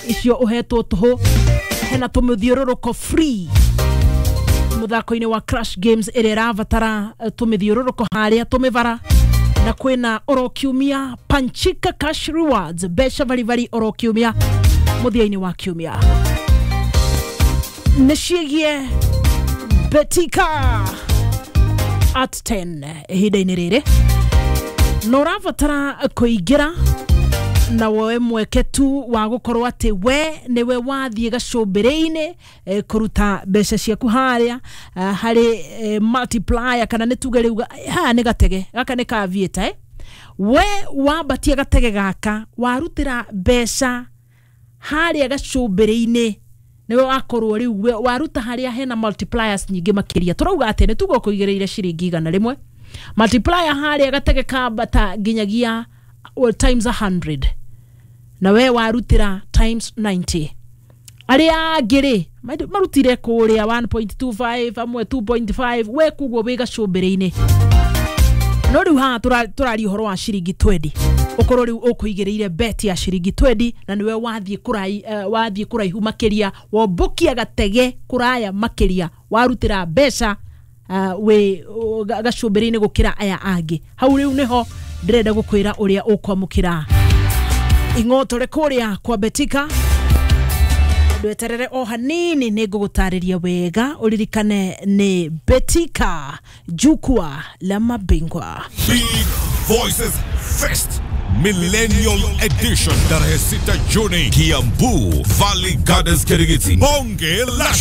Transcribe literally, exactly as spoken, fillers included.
Icio ũhetwo tũhũ. Hena tũmĩthiũrũrũko free mũthako-inĩ wa Crash Games ĩrĩa ĩrabatara eh, tũmĩthiũrũrũko harĩa tũmĩbara, na kwĩna oro kiumia Panchika Cash Rewards, mbeca baribari oro kiumia mũthia-inĩ wa kiumia nĩ ciĩgiĩ Betika at ten. Ihinda-inĩ rĩrĩ na ũrabatara kũingĩra na woe mweke tu wa gũkorwo atĩ we nĩwe wathiĩ gacũmbĩrĩ-inĩ eh, kũruta mbeca ciaku harĩa eh, harĩ eh, multiplier, kana nĩ tuge rĩu haha nĩ gatege gaka nĩ ka vieta, eh? We wambatia gatege gaka warutĩra mbeca harĩa gacũmbĩrĩ-inĩ, nĩwe wakorwo rĩu we- waruta harĩa hena multipliers nyingĩ makĩria. Tũrauga atĩ nĩ tuga ũkũigĩrĩire ciringi igana rĩmwe, multiplier harĩa gatege kambata nginyagia, well, times a hundred, na we warutĩra times ninety. Arĩa angĩ rĩ marutire kũrĩa one point two five, amwe two point five, we koguo wĩ gacũmbĩrĩ-inĩ. No rĩu haha tũra- tũraria ũhoro wa ciringi twenty, ũkorwo rĩu ũkũigĩrĩire bet ya ciringi twenty na nĩwe wathiĩ kũrai, uh, wathiĩ kũraihu makĩria, wombũkia gatege kũraya makĩria, warutĩra mbeca uh, wĩ uh, ga- gacũmbĩrĩ-inĩ gũkĩra aya angĩ. Hau rĩu nĩho ndĩrenda gũkwĩra ũrĩa ũkwamũkĩra ing'otore kũrĩa kwa Betika. Ndweterere o hanini, nĩ ngũgũtarĩria wega. Ũririkane nĩ Betika, jukwaa la mabingwa. Big Voices Fest Millennial Edition, tarehe sita Juni, Kiambu, Valley Gardens, Kirigiti. Bonge la